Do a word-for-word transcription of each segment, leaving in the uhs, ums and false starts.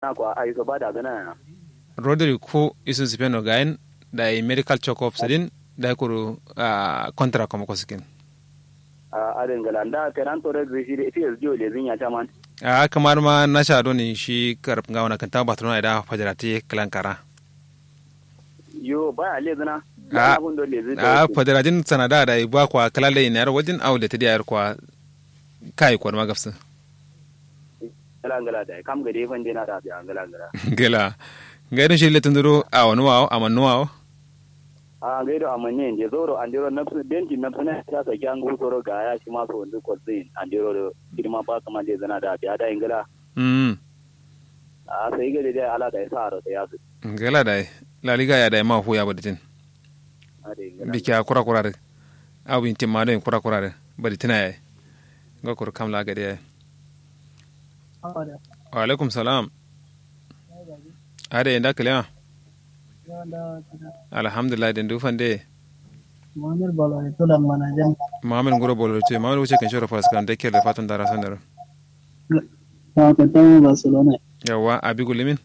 Na kwa ai so ba da gana ya. Rodri ku isun sipeno gayin. Dayi medical checkup sidin. Dayi kuru ah, contract kuma kosikin. Ah, adin gala nda kenan tore zai shi da ita yanzu jiyo lezin ya caman. Ah, kamar ma nasha doni shi karab nga wana kanta barcelona da fajarati kalan kara. Yo baya lezina. Ah, ah, fajaratin sanada da ba kwa kalale ina yar wajin au da ta diya yar kwa. Kai kwa ma gafsin. Ngala ngala da kam gade fan dena da biya ngala ngala. Ngala. Ngai don shi le tunduro a wani wawo a mannu wawo. A ngai do a manne inde zoro andiro nafsu denti nafsu na ta sa kyan gu soro ga ya shi ma so ndu ko zin andiro do. Shi ma ba kaman de zana da biya da ngala. Mm. A sai gade da ala da ya sa ro da ya su. Ngala da. Laliga ya da ma hu ya baditin. Biki a kura kura de. Abu intin ma don kura kura de. Baditina ya. Nga kuru kam la gade ya. Wa alaikum salam. Ade inda kalewa. Alhamdulillah den du fande. Muhammad bolo to dan mana jan. Muhammad nguro bolo to muhammad wuce kan shoro fas kan de kele fatan dara sandaro. Wa ka tawo barcelona. Yawa abi gulimin.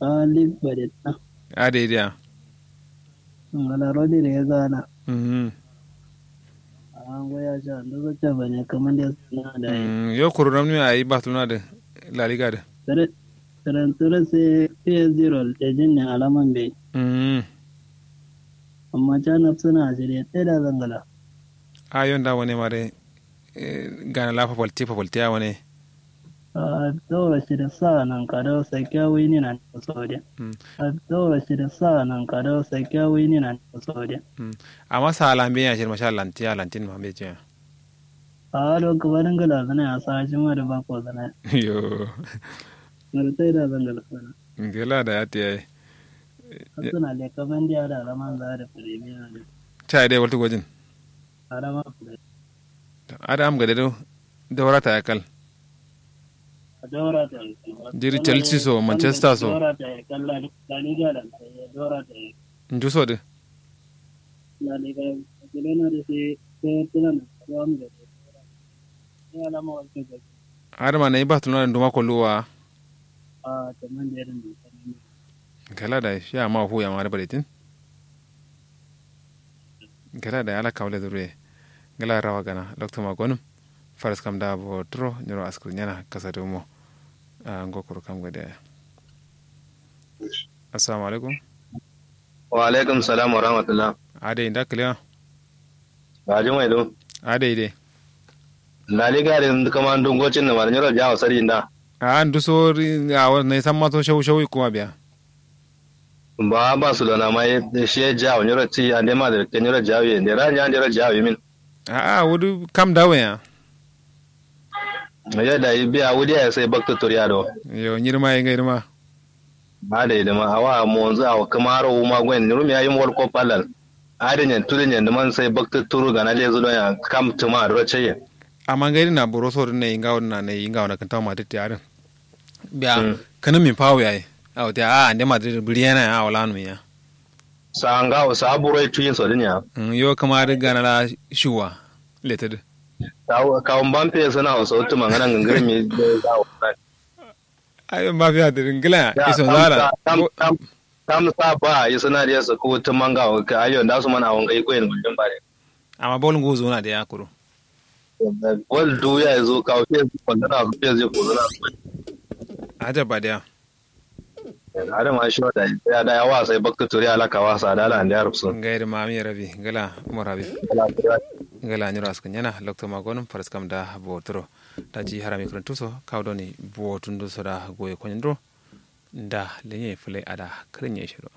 Ali badetna. Ade dia. Ngala rodri ya zana. Mhm. Ango ya sha ndo zo cha bane kaman da suna da yi. Mm, yo kuru ramni ayi barcelona de. La liga de. Tare tare tare sai psg rol da jin ne alaman bai. Mm. Amma cha nafsuna a shirye tsaye da zangala. A yon da wani ma de. Gana la fafalte fafalte a wane. Daura shi da sa nan kado sakiya wini nan kuso de. Daura shi da sa nan kado sakiya wini nan kuso de. Amma sa lambe ya shirma sha lanti ya lantin ma be jiya. A do kuma dinga lazana ya sa shi ma da ba ko zana. Yo. Martai da zanga lazana. Ngela da ya tiya. Suna da kaman diya da alaman za da premier ne. Chai dai waltu gojin. Adama. Ada am gade do. Daurata ya kal. Jiri chelsea so manchester so. Njuso de. Adama na iba tulona nduma koluwa. Kala da shi amma fu ya ma da baletin. Gala da ala kawle duro ye. Gala rawa gana loktu ma gonum. Faras kam da bo turo nyiro askuru nyana kasa dumo. Ngo kuru kam gade. Assalamu alaikum. Wa alaikum salam wa rahmatullah. Adai nda kiliya. Ba jumai do. Adai dai. Laliga de kama ndu ngocin na mara nyiro jawo sari nda. A ndu so ri a wa nai samma so shau shau kuma biya. Ba barcelona ma ye shi ye jawo nyiro ti ande madrid ke nyiro jawo ye nde ra nya nyiro jawo min. A'a wudu kam dawo ya. Yo da yi biya wudu ya sai bakta turiya do. Yo nyirma ye ngai ma. Ba da idima awa monzu awa kamaro wuma gwen nirumi ya yim wol ko palal. Adin yen tudin yen diman sai bakta turu gana lezu don ya kam tuma duro ceye. Amma ngai dina buro so din ne inga wona ne inga wona kan tawo madrid ya din. Biya kanin min fawo yayi. Awo te a ande madrid buri yana ya wala nu ya. Sa nga sa buro tuyin so din ya. Yo kama da gana la shuwa leted. Kawo mbappe suna so tuma ngana ngangare mi. Ayo mbappe a dirin gila ya iso zara. Kam sa ba yi suna da su ku tuma nga ka ayo da su mana wanga iko yin gudun bare. Amma bol ngu zuna da ya kuro. Bol du ya zo kawo fiye su kwandana su fiye su kwandana. Ajabba da ya. Ada ma shi wata ya da yawa sai bakta turi alaka wasa da ala ande arab sun. Ngai da mami rabi gala umar rabi. Gala nyiro askan yana lokto magonum faras kam da boturo. Daji harami kurun tuso kawo doni botun duso da goye konyin duro. Nda lenye fule ada kurun ye shiro.